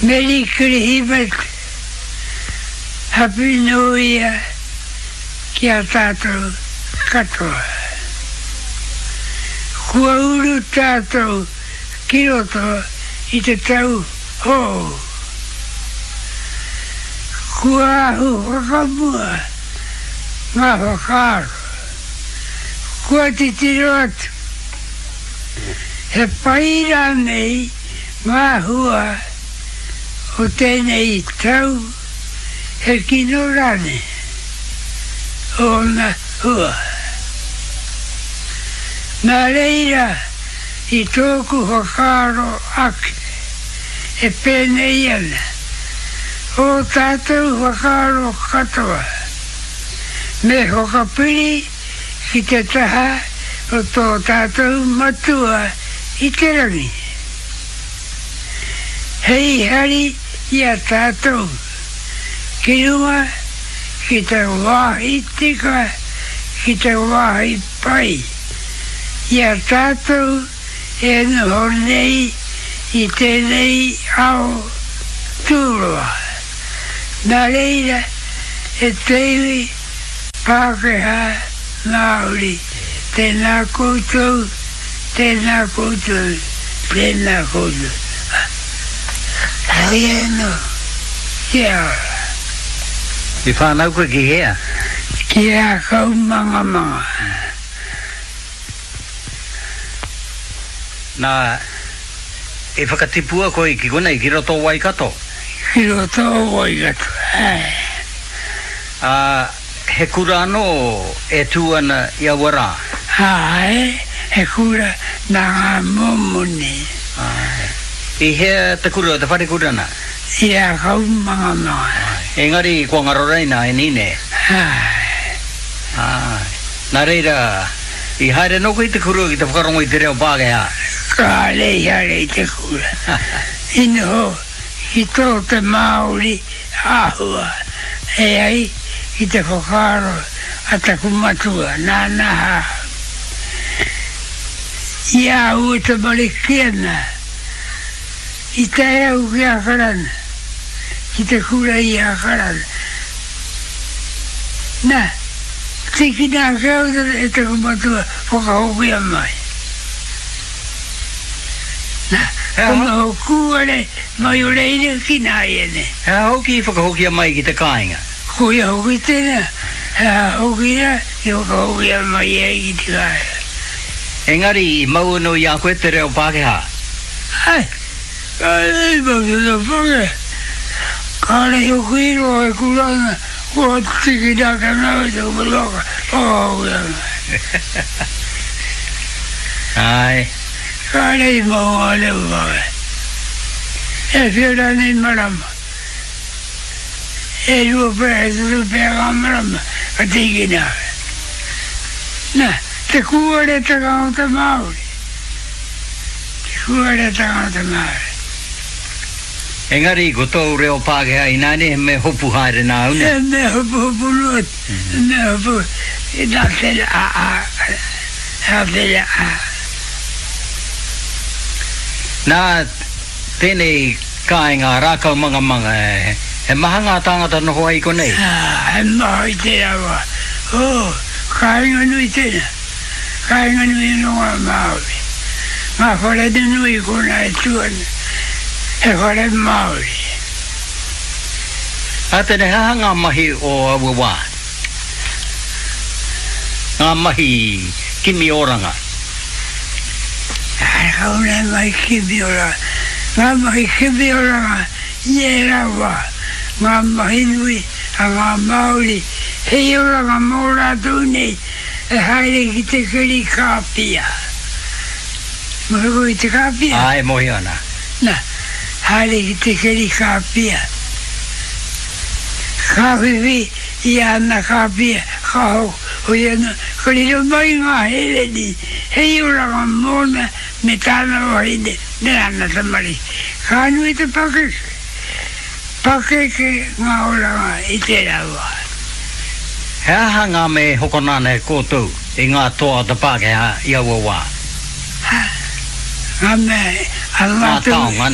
Meri Kirihimete, Happy New Year ki a tātou katoa. Kua uru tātou ki roto i te tau hou. Kua ahu whakamua ngā whakaaro. Kua titiro atu, he pai rānei ngā hua o tēnei tau, he kino rānei ōna hua. Nā reira i tōku whakaaro ake e pēnei ana ō tātou whakaaro katoa, me whakapiri ki te taha o tō tātou Matua i te Rangi, hei hari i a tātou ki runga ki te wāhi tika, ki te wāhi pai, i a tātou e noho nei i tēnei ao tūroa. Nā reira, e te iwi Pākehā, Māori, tēnā koutou, tēnā koutou, tēnā koutou. Hei anō, kia ora. I whānau koe ki hea? Ki Rākaumangamanga. Nā, i whakatipua koe ki konei, ki roto o Waikato? Ki roto o Waikato, āe. Ā, he kura anō e tū ana i aua rā? Āe, he kura nā ngā Mōmoni. Āe. I hea te kura, te wharekura nā? I Rākaumangamanga. Āe. Engari, kua ngaro raina e Nine? Āe. Āe. Nā reira, i haere anō koe i te kura ki te whakarongo i te reo Pākehā? Kāre i haere i te kura. I noho ki tō te Māori āhua e ai ki te whakaaro a taku matua, nāna ahau. I a au e tamariki ana, i tae au ki Ākarana, ki te kura i Ākarana. Na, tīkina ake au e taku matua whakahokia mai. Na, ko noho kūare mai o reira ki nāianei. He aha hoki i whakahokia mai ki te kāinga? Koia hoki tēnā, he aha hoki rā i whakahokia mai ai ki te kāinga. Engari i mau anō i a koe te reo Pākehā? Āe. Kāre i mau te reo Pākehā. Kāre hoki i roa e kura ana, kua tīkina ake ana au e taku matua ka whakahokia mai. Āe. Kāre i mau ngā reo Pākehā. E whia rānei marama, e rua pea, e toru pea ngā marama ka tīkina ake. Nā, te kūaretanga o te Māori. Te kūaretanga o te Māori. Engari ko tōu reo Pākehā ināianei he mea hopu haere nāu nē? He mea hopuhopu noa, he mea hopu, nā tērā a a, nā tērā a. Nā tēnei kāinga Rākaumangamanga, he maha ngā tāngata noho ai i konei? Ā, he maha i tērā wā. Oh, kāinga nui tēnā. Kāinga nui anō ngā Māori. Ngā whare nunui i konā e tū ana, he whare Māori. Ā tēnei, he aha ngā mahi o aua wā? Ngā mahi kimi oranga. Kārekau nei mahi kimi oranga. Ngā mahi kimi oranga i ērā wā, ngā mahi nui a ngā Māori hei oranga mō rātou nei E haere ki te keri kāpia. Mōhio koe ki te kāpia? Āe, mōhio ana. Na, haere ki te keri kāpia. Ka whiwhi i āna kāpia, ka hoi anō, ka riro mai ngā hereni hei oranga mōna me tāna wahine me āna tamariki. Ka nui te pakeke. Pakeke ngā oranga i tērā wā. He aha ngā mea e hokona ana e koutou i ngā toa o te Pākehā i aua wā? Ha, ngā mea a Ngā mātou. taonga, nē.